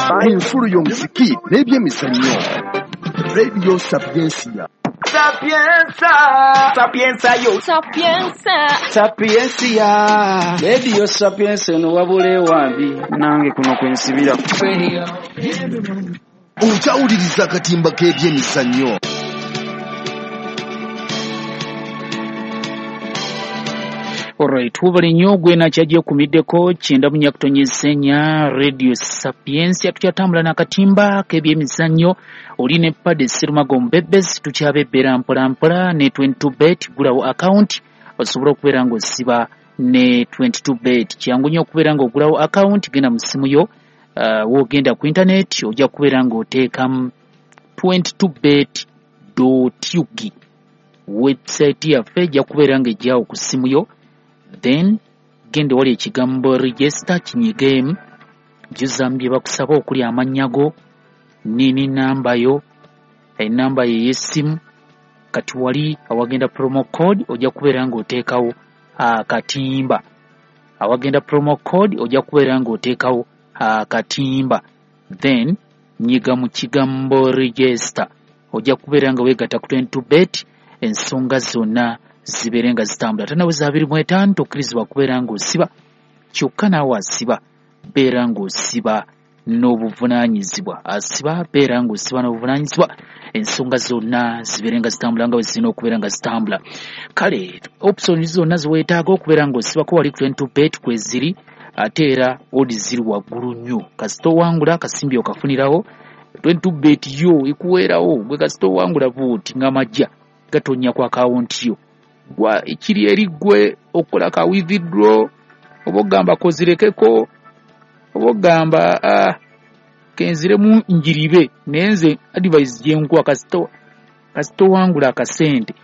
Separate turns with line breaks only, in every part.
Ku nfulu y'omuziki n'ebyemizannyo, Radio Sapiensia.
Sapienza, Sapienza yo.
Sapienza.
Sapiensia.
Radio Sapienza eno wabula ewambi nange kuno kwensibira.
Okyawuliriza akatimba k'ebyemizannyo.
Alright, wubale nnyo gwe nakyagye kumiddeko 94.4 Radio Sapiensia. Tukyatambula n'akatimba k'ebyemizannyo, oli ne Pade Serumago Mbebezi, tukyabebbera mpola mpola ne 22 bet. Gulawo account osobola okubeera ng'osiba ne 22 bet. Kyangu nnyo okubeera ng'ogulawo account. Genda mu ssimu yo, w'ogenda ku internet ojja kubeera ng'oteekamu 22 bet ug. Website yaffe ejja kubeera ng'ejjawo ku ssimu yo, then genda wali ekigambo "register", kinyigeemu, jjuzamu bye bakusaba okuli amannya go, nini, namba yo, enamba yo ey'essimu. Kati wali awagenda promo code ojja kubeera ng'oteekawo akatimba. Awagenda promo code ojja kubeera ng'oteekawo akatimba, then nyiga mu kigambo "register", ojja kubeera nga weegatta ku 22 bet, ensonga zonna zibeere nga zitambula. Tanaweza 25, tokkirizibwa kubeera ng'osiba. Kyokka naawe asiba, beera ng'osiba n'obuvunaanyizibwa. Asiba, beera ng'osiba n'obuvunaanyizibwa, ensonga zonna zibeere nga zitambula nga bwe zirina okubeera nga zitambula. Kale option zonna ziweetaaga okubeera ng'osibako wali ku 22 bet kweziri, ate era odi ziri waggulu nnyo. Kasita owangula akasimbi okafunirawo. 22 bet yo ekuweerawo gwe kasita owangula buuti nga majja gatonnya ku akawunti yo. Gwa ekiri eri ggwe okukola ka withdraw, oba ogamba kozirekeko, oba ogamba kenziremu njiribe. Naye nze advice gyenkuwa, kasita owangula akasente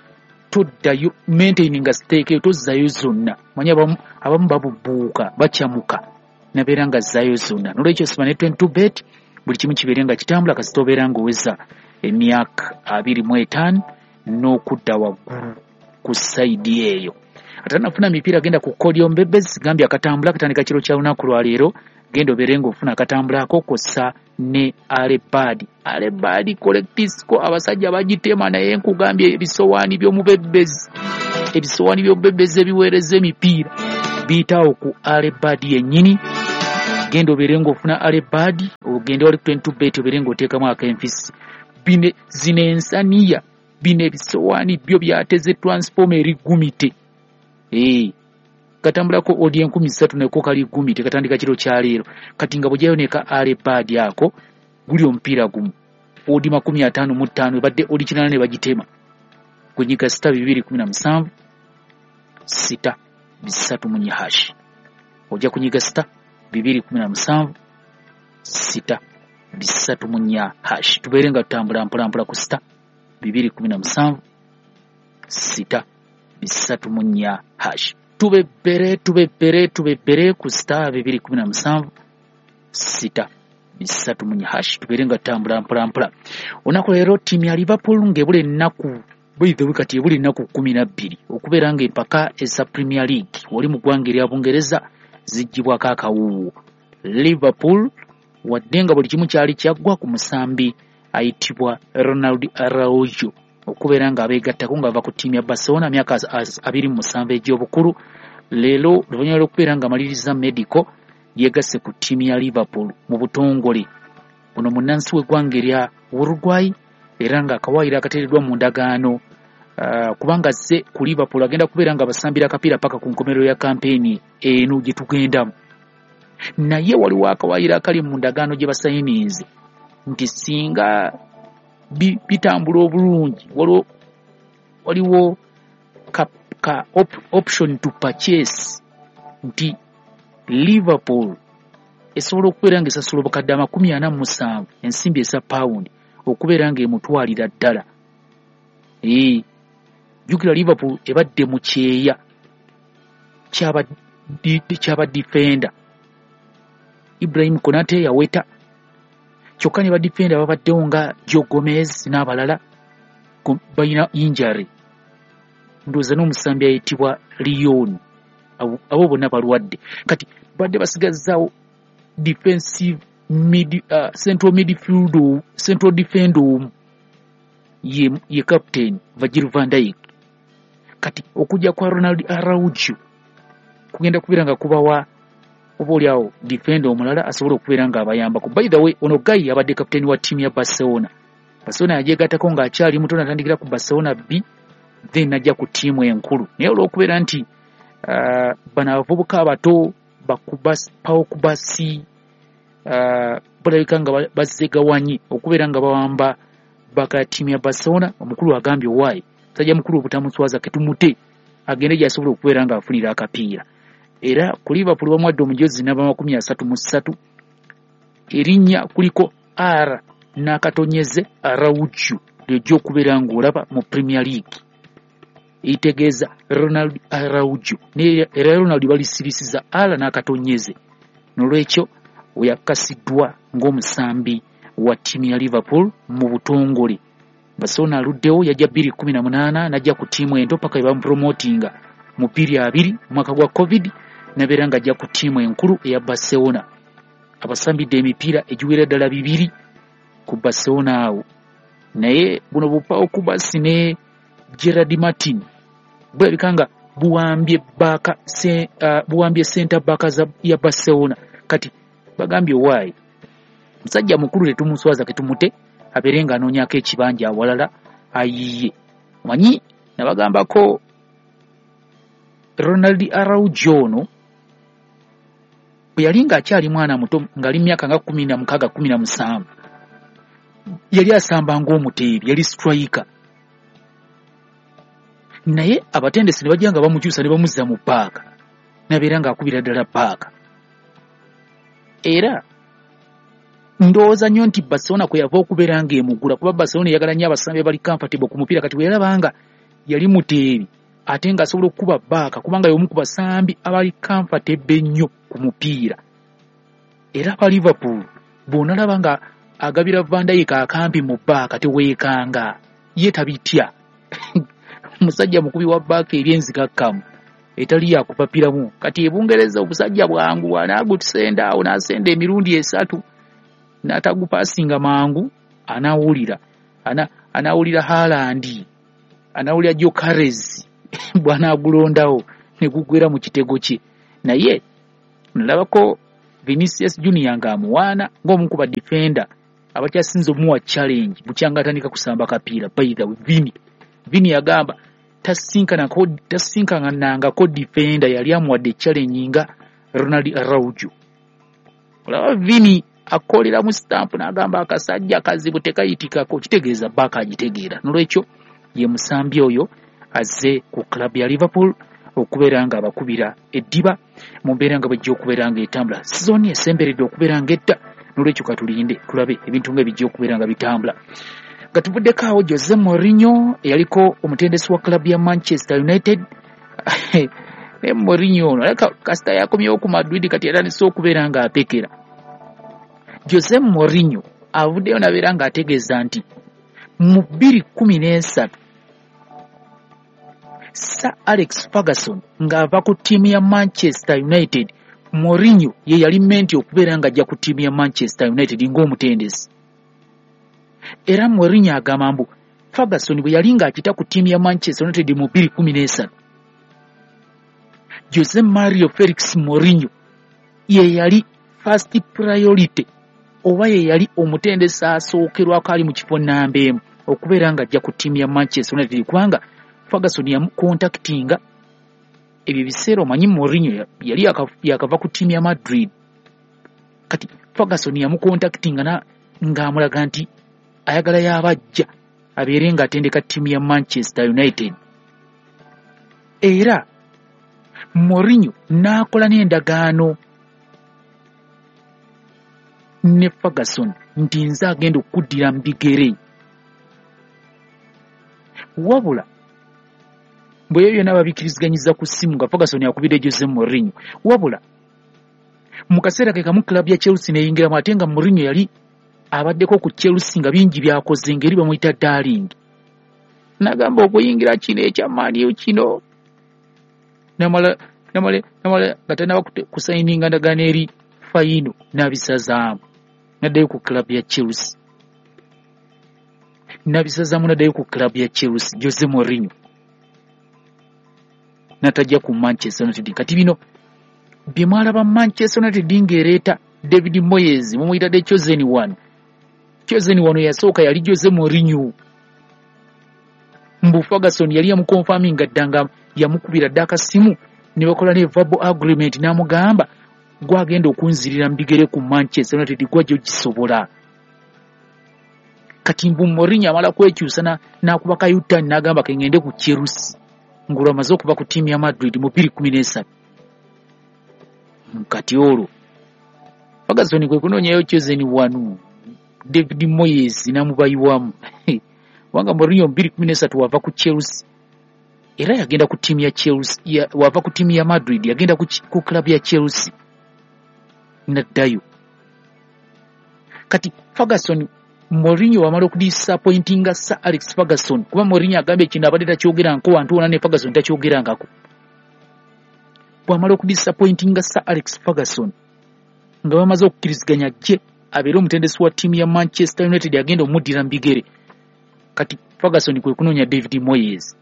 toddayo, maintaininga stake, tozzayo zonna. Manyi abamu babubuuka, bakyamuka nabeera nga zzayo zonna. Nolwekyo siba ne 22 bet, buli kimu kibeere nga kitambula. Kasita obeera ng'oweza emyaka 25 n'okudda waggulu ku side eyo. Ate nafuna mipiira, genda ku Kodio Mbebezi, gambye akatambula katandika kiro kya lunaku lwaleero. Genda obeere ng'ofuna akatambula ako kw'ossa ne alebadi alebadi collectisco. Abasajja bagitema, naye nkugambye ebisowaani by'omubebezi, ebisowaani by'omubebezi ebiweereza emipiira biyitawo ku alebadi yennyini. Genda obeere ng'ofuna alebadi, ogende wali ku 22 bet, obeere ng'oteekamu akenfisi. Bino zino ensaniya, bino ebisowaani byo byateze transformer eri gumite. Katambulako odi 3000 neko kali gumite, katandika kiro kyaleero. Kati nga bw'ojjayo neka alebadi ako, guli omupiira gumu odi 55, ebadde odi 8 ne bagitema. Kunyiga *217 *334 hash. Ojja kunyiga *217 *334 hash, tubeere nga tutambula mpola mpola ku *217 *334 hash. Tubebbere, tubebbere, tubebbere ku *217 *334 hash, tubeere nga tutambula mpola mpola. Olunaku leero ttiimu ya Liverpool ng'ebula ennaku, by kati ebula ennaku 12 okubeera ng'empaka eza Premier League wali mu ggwanga erya Bungereza ziggyibwako akawuuwo. Liverpool, wadde nga buli kimu kyali kyaggwa ku musambi ayitibwa Ronald Araujo okubeera nga abeegattako ng'ava ku ttiimu ya Barcelona, myaka 27 egy'obukulu, leero oluvannyuma lw'okubeera nga amaliriza medical yeegasse ku ttiimu ya Liverpool mu butongole. Ono munnansi w'eggwanga erya Uruguay, era ng'akawaayiro akateereddwa mu ndagaano, kubanga azze ku Liverpool agenda kubeera nga basambira akapiira paka ku nkomerero ya kampeyini eno gye tugendamu. Naye waliwo akawaayiro akali mu ndagaano gye basayininze nti singa bitambula obulungi, waliwo ka option to purchase, nti Liverpool esobola okubeera ng'esasula obukadde 47 ensimbi eza pawundi okubeera ng'emutwalira ddala. Jjukira Liverpool ebadde mu kyeya kyaba defender. Ibrahim Konate yaweta, kyokka ne badifenda babaddewo nga Joe Gomez n'abalala balina injury. Ndowooza n'omusambi ayitibwa Leon, abo bonna balwadde. Kati badde basigazzaawo defensive central midfield, central defender omu ye captain Virgil van Dijk. Kati okujja kwa Ronald Araujo kugenda kubeera nga kubawa oba oliawo defender omulala asobola okubeera nga abayambako. By the way, ono guy abadde captain wa ttiimu ya Barcelona. Barcelona yagyegattako ng'akyali muto, natandikira ku Barcelona B, then najja ku ttiimu enkulu. Naye olw'okubeera nti bano abavubuka abato Pau Cubarsí balabika nga bazzegawanye okubeera nga bawamba baka ya ttiimu ya Barcelona, omukulu agambye owaayi musajja mukulu obutamuswaza ketumute agende gy'asobola okubeera ng'afunira akapiira. Era ku Liverpool bamuwadde omujozi namba 33, erinnya kuliko R n'akatonyeze Araujo ly'ojja okubeera ng'olaba mu Premier League, eritegeeza Ronald Araujo. Naye era Ronald balisirisiza R n'akatonyeze, n'olwekyo oyakasiddwa ng'omusambi wa ttiimu ya Liverpool mu butongole. Barcelona aluddewo, yajja 2018 n'ajja ku ttiimu ento paka we bamupromotinga mu 2020 omwaka gwa COVID, n'abeera ng'ajja ku ttiimu enkulu eya Barcelona. Abasambidde emipiira egiwera ddala 2 ku Barcelona awo. Naye buno Pau Cubarsí ne Gerard Martin bulabika nga buwambye baka buwambye center back ya Barcelona. Kati bagambye owaayi musajja mukulu tetumuswaza ketumute abeere ng'anoonyako ekibanja awalala ayiye. Omanyi nabagambako Ronald Araujo ono bwe yali ng'akyali mwana muto, ng'ali mu myaka nga 16 17, yali asamba ng'omuteebi, yali striker. Naye abatendesi ne bajja nga bamukyusa ne bamuzza mu paaka, n'abeera ng'akubira ddala paaka. Era ndowooza nnyo nti Barcelona kwe yava okubeera ng'emugula, kuba Barcelona eyagala nnyo abasambi abali comfortable ku mupiira. Kati bwe yalaba nga yali muteebi ate ng'asobola okukuba baaka, kubanga y'omu ku basambi abali comfortable ennyo ku mupiira. Era aba Liverpool bw'onalaba nga agabira Van Dijk akampi mu baaka teweekanga, ye tabitya. Musajja mukubi wa baaka eri enzikakkamu etali yakupapiramu. Kati e Bungereza obusajja bwangu, anaagutusenda awo n'asenda emirundi 3 n'atagupaasinga mangu, anaawulira anaawulira Haaland, anaawulira Gyökeres bw'anaagulondawo ne gugwera mu kitego kye. Naye nalabako Vinicius Junior ng'amuwaana ng'omu ku ba defender abakyasinze omuwa challenge bukyanga atandika kusamba kapiira. By the way, Vini yagamba tasinkanangako defender yali amuwadde challenge nga Ronald Araujo. Olaba Vini akolera mu stamp n'agamba akasajja kazibu tekayitikako, kitegeeza baaka agitegeera. N'olwekyo ye musambi oyo azze ku club ya Liverpool okubeera nga abakubira eddiba mu mbeera nga bwejja okubeera nga etambula. Sizoni esemberedde okubeera nga edda, n'olwekyo katulinde tulabe ebintu nga bijja okubeera nga bitambula. Nga tuvuddeko awo, Jose Mourinho eyaliko omutendesi wa club ya Manchester United, naye Mourinho ono alabika kasita yakomyewo ku Madrid kati yatandise okubeera ng'apekera. Jose Mourinho avuddeyo n'abeera ng'ategeeza nti mu 2013 Sir Alex Ferguson ng'ava ku ttiimu ya Manchester United, Mourinho ye yali menti okubeera ng'ajja ku ttiimu ya Manchester United ng'omutendesi. Era Mourinho agamba mbu Ferguson bwe yali ng'akita ku ttiimu ya Manchester United mu 2013, Jose Mario Felix Mourinho ye yali first priority, oba ye yali omutendesi asookerwako ali mu kifo namba 1 okubeera ng'ajja ku ttiimu ya Manchester United, kubanga Ferguson yamukontaktinga ebyo ebiseera. Omanyi Mourinho yali yakava ku ttiimu ya Madrid, kati Ferguson yamukontaktinga ng'amulaga nti ayagala y'abajja abeere ng'atendeka ttiimu ya Manchester United. Era Mourinho n'akola n'endagaano ne Ferguson nti nze agenda okuddira mu bigere. Wabula bwe ebyo byonna babikkiriziganyizza ku ssimu nga Ferguson akubidde Jose Mourinho. Wabula mu kaseera ke kamu club ya Chelsea n'eyingiramu, ate nga Mourinho yali abaddeko ku Chelsea nga bingi by'akoze, ng'eri bamuyita darling. N'agamba okuyingira kino ekya Man U kino namala nga tannaba kusayininga ndagaano eri fayino n'abisazaamu. Naddayo ku club ya Chelsea, nabisazaamu naddayo ku club ya Chelsea. Jose Mourinho natajja ku Manchester United. Kati bino bye mwalaba Manchester United ng'ereeta David Moyes, mumuyita the chosen one. Chosen one yasooka yali Jose Mourinho. Mbu Ferguson yali yamukonfaminga dda, nga yamukubira dda akasimu ne bakola ne verbal agreement, n'amugamba gwagenda okunzirira mu bigere ku Manchester United, gwajja ogisobola. Kati mbu Mourinho amala kwekyusa n'akuba ka U-turn n'agamba kengende ku Chelsea, ng'olwo amaze okuva ku ttiimu ya Madrid mu 2013. Kati olwo Ferguson kwe kunoonyayo chosen one David Moyes n'amubayiwamu, kubanga Mourinho mu 2013 wava ku Chelsea era yagenda ku ttiimu ya Chelsea, wava ku ttiimu ya Madrid yagenda ku club ya Chelsea naddayo. Kati Ferguson, Mourinho wamala okudisappointinga Sir Alex Ferguson, kuba Mourinho agambye kino abadde takyogeranko wantu wonna, ne Ferguson takyogerangako. Bw'amala okudisappointinga Sir Alex Ferguson nga bamaze okukkiriziganya jje abeere omutendesi wa ttiimu ya Manchester United agenda omuddira mu bigere, kati Ferguson kwe kunoonya David Moyes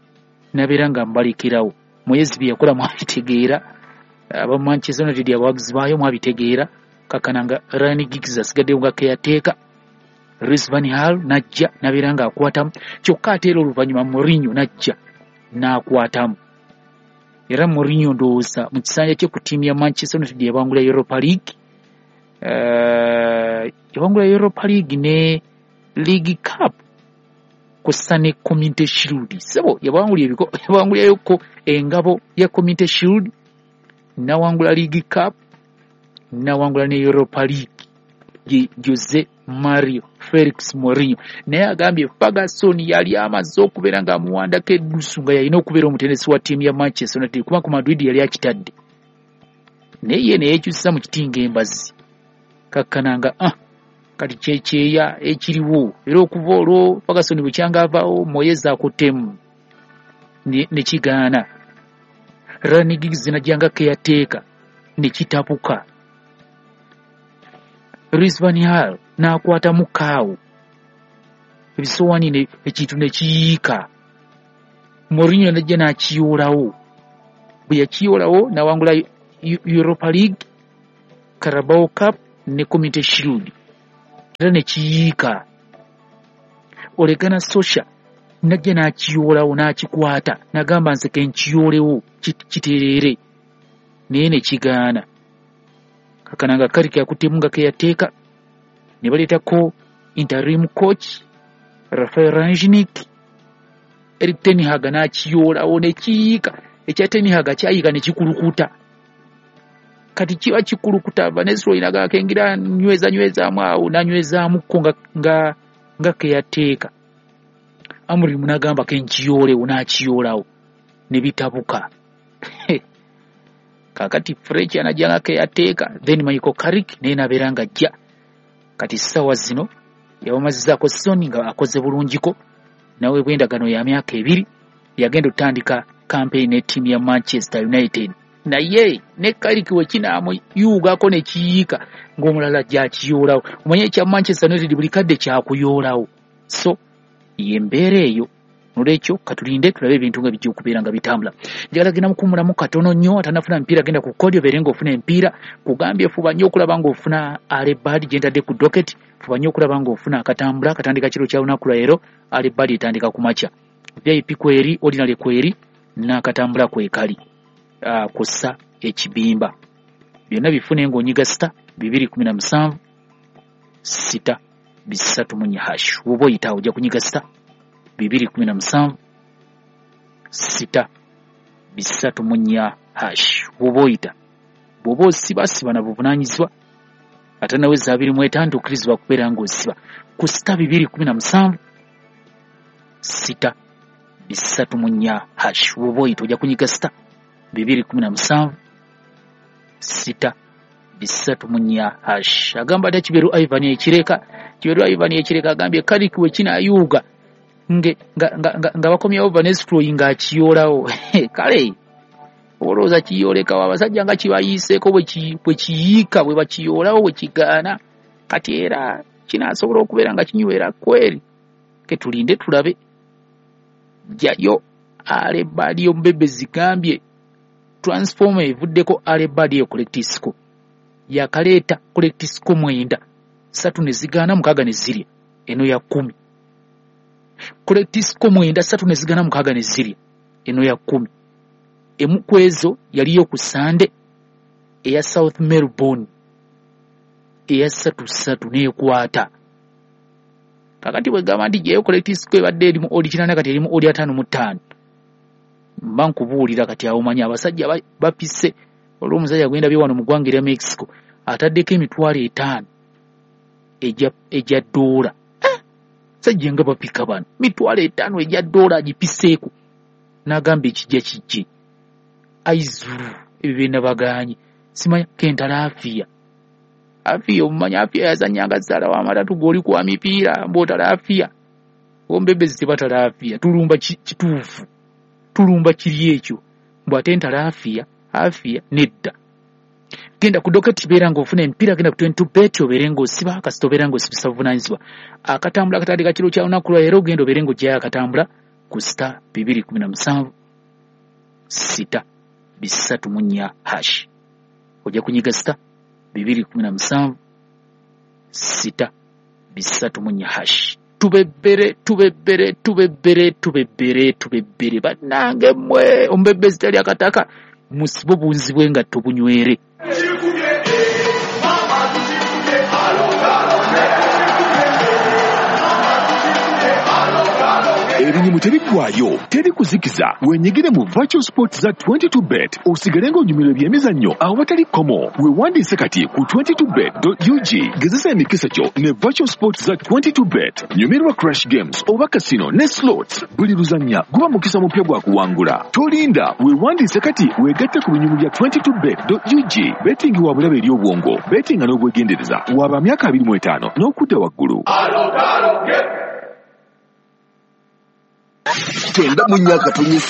n'abeera nga mbalekerawo. Moyes bye yakola mwabitegeera, aba Manchester United abawagizi baayo mwabitegeera. Kakana nga Ryan Giggs asigaddeyo nga keyateeka, Louis van Gaal n'ajja n'abeera ng'akwatamu, kyokka ate era oluvannyuma Mourinho n'ajja n'akwatamu. Era Mourinho ndowooza mu kisanja kye ku ttiimu ya Manchester United yabangula Europa League, yabangula Europa League ne League Cup kw'ossa ne Community Shield. Ssebo yabangulirayoko engabo ya Community Shield, n'awangula League Cup, n'awangula ne Europa League. Ye Jose Mario Felix Mourinho naye agambye Ferguson yali amaze okubeera ng'amuwandako eddusu nga yalina okubeera omutendesi wa ttiimu ya Manchester United, kuba ku Madrid yali akitadde, naye ye ne yeekyusa mu kiti ng'embazi. Kakkana nga kati kyekyeya ekiriwo. Era okuva olwo Ferguson bwe avaawo, Moyes akuttemu ne kigaana. Ryan Giggs n'ajja nga keyateeka ne kitabuka. Louis van Gaal n'akwatamu kaawo ebisowaani ekintu ne kiyiika. Mourinho n'ajja n'akiyoolawo. Bwe yakiyoolawo n'awangula Europa League, Carabao Cup ne Community Shield, era ne kiyiika. Ole Gunnar Solskjaer n'ajja n'akiyoolawo n'akikwata n'agamba nze ke nkiyoolewo kitereere, naye ne kigaana. Kakana nga Carrick akuttemu nga keyateeka, ne baleetako interim coach Rafael Rangnick. Erik ten Hag n'akiyoolawo ne kiyiika. Ekya ten Hag kyayiika ne kikulukuta. Kati kiba kikulukuta, Van Nistelrooy n'akengira nyweza nywezaamu awo, n'anywezaamuko nga keyateeka. Amorim n'agamba ke nkiyoolewo, n'akiyoolawo ne bitabuka. Kaakati Fletcher n'ajja nga keyateeka, then Michael Carrick naye n'abeera ng'ajja. Kati ssaawa zino yabamazizaako season nga akoze bulungiko, naweebwa endagaano ya myaka 2, yagenda okutandika campaign ne ttiimu ya Manchester United. Naye ne Carrick we kinaamuyuugako ne kiyiika ng'omulala ajja akiyoolawo. Omanye ekya Manchester United buli kadde kyakuyoolawo. So y'embeera eyo. Nolwekyo katulinde tulabe ebintu nga bijja okubeera nga bitambula. Njagala genda mukuwummulamu katono nnyo, atannafuna mipiira genda ku kodi obeere ng'ofuna empiira. Kugambye fuba nnyo okulaba ng'ofuna early bird gye ntadde ku docket, fuba nnyo okulaba ng'ofuna akatambula katandika kiro kya lunaku lwa leero, early bird etandika ku makya. VIP kweri, ordinary kweri, n'akatambula kwekali kw'ossa ekibimba. Byonna bifune ng'onyiga *217 *334 hash. Bw'oba oyita ojja kunyiga *217 *334 hash. Bw'oba oyita, bw'oba osiba siba na buvunaanyizibwa, ate naweza 25 okkirizibwa kubeera ng'osiba ku *217 *334 hash. Bw'oba oyita ojja kunyiga *217 *334 hash. Agamba ate Kiberu Ivan Ekireka, Kiberu Ivan Ekireka agambye Carrick we kinaayuuga nga bakomyewo Van Nistelrooy ng'akiyoolawo. Kale olowooza kiyoolekawo abasajja nga kibayiiseeko bwe kiyiika, bwe bakiyoolawo bwe kigaana. Kati era kinaasobola okubeera nga kinywera kweri, ketulinde tulabe. Jayo Alebadi omubebe zigambye transformer evuddeko Alebadi eyo correct score. Yakaleeta correct score 9, 3 ne zigaana, 6 ne zirya. Eno ya 10. Correct score 9, 3 ne zigaana, 6 ne zirya. Eno ya 10. Emu ku ezo yaliyo ku Sande eya South Melbourne eya 3-3 n'ekwata. Kakati bwe gamba nti gyeyo correct score ebadde erimu oli 8, kati erimu oli 55. Mba nkubuulira kati awo manyi abasajja bapise. Olw'omusajja gwendabye wano mu ggwanga erya Mexico ataddeko 50,000 egya ddoola. Sajja nga bapika bano 50,000 egya ddoola agipiseeko, n'agamba ekijja kijje aizuru ebyo byenabagaanye. Simanya kentala afiya afiya omumanya afiya yazanyanga zzaala w'amatatu g'oli kwa mipiira mbw'otala afiya ombebezi tebatala afiya. Tulumba kituufu, tulumba kiri ekyo mbw ate ntala afiya afiya nedda. Genda ku doketi beera ng'ofuna emipiira, genda ku 22 bet obeere ng'osiba, kasita obeera ng'osibisa buvunaanyizibwa. Akatambula akatandika kiro kya lunaku lwa leero, ogenda obeere ng'oggyayo akatambula ku *217 *334 hash. Ojja kunyiga *217 *334 hash. Tubebbere tubebbere tubebbere tubebbere tubebbere bannange mmwe, omubebezi tali akataka musibe obunzi bw'engatto bunywere.
Ebinyumu tebiggwayo, teri kuzikiza. Wenyigire mu virtual sports za 22bet osigale ng'onyumirwa ebyemizannyo awatali kkomo. Weewandiise kati ku 22bet.ug. Gezesa emikisa gyo ne virtual sports za 22bet. Nyumirwa crash games oba casino ne slots. Buli luzannya guba mukisa mupya gwa kuwangula. Tolinda, weewandiise kati weegatte ku binyumu bya 22bet.ug. Betting wa bulabe eri obwongo, bettinga n'obwegendereza. Waba myaka 25 n'okudda waggulu. 94.